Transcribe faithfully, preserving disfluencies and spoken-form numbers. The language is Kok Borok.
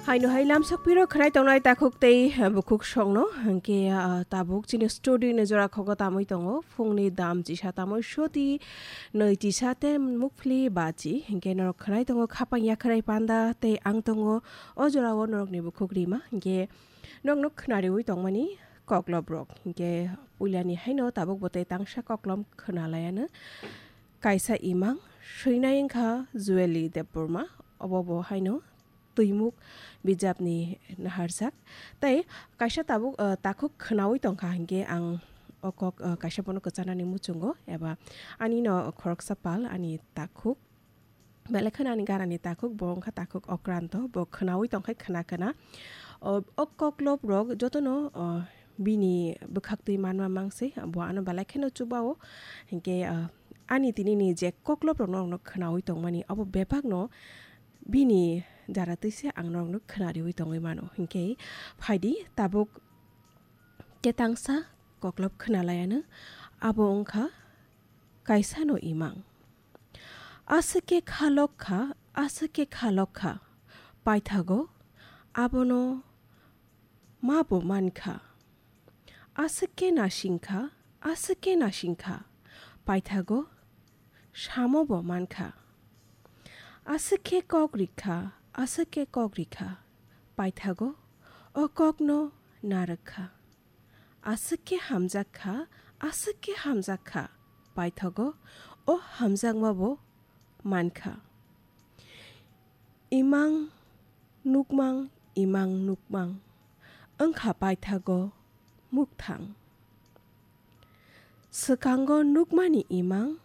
Haino hai lamsok piro khwnai tongnai takhuk tei bukhuk songno, hwnkhe, ah, tabuk chini studio ni jora khogo tamwi tongo, phungni dam chisa tamwi soti nwi chisa tei mukphli bachi, hwnkhe norok khwnai tongo khapang yakhrai panda tei ang tongo o jorao norokni bukhuk rima, hwnkhe norokno khwnariwi tongmani koklop rok, hwnkhe puilani haino tabuk bo tei tangsa koklom khwnalaiano. Kaisa imang swinai wngkha Jueli Debbarma, obo bo haino Twimuk bijapni naharjak. Tei kaisa tabuk, ah, takhuk khwnawi tongkha hinkhe ang o kok, ah, kaisa bono kwchanani muchungo eba ani no khoroksa pal ani takhuk. Belai kheno ani ganani takhuk, bo wngkha takhuk Okranto, bo khwnawi tongkhai khwna khwna. O, o koklop rok jotono, o, bini bwkhaktwi manma mangsi, bo ano belai kheno chubao. Hinkhe, ah, ani tinini je koklop rokno khwnawi tongmani, obo bebakno bini jara twi se ang norokno khwnariwi tongwi mano. Hinkhe phaidi tabuk ketangsa koklop khwnalaiano, abo wngkha kaisano imang. Aswk khe khalok kha, aswk khe khalok kha, paithago abono ma bo man kha. Aswk khe nasing kha, aswk khe nasing kha, paithago samo bo man kha. Aswk khe kok rik kha, aswk khe kok rik kha, paithago o kokno narwk kha. Aswk khe hamjak kha, aswk khe hamjak kha, paithago o hamjakma bo man kha. Imang nukmang, imang nukmang, wngkha paithago mukthang. Swkango nukmani imang,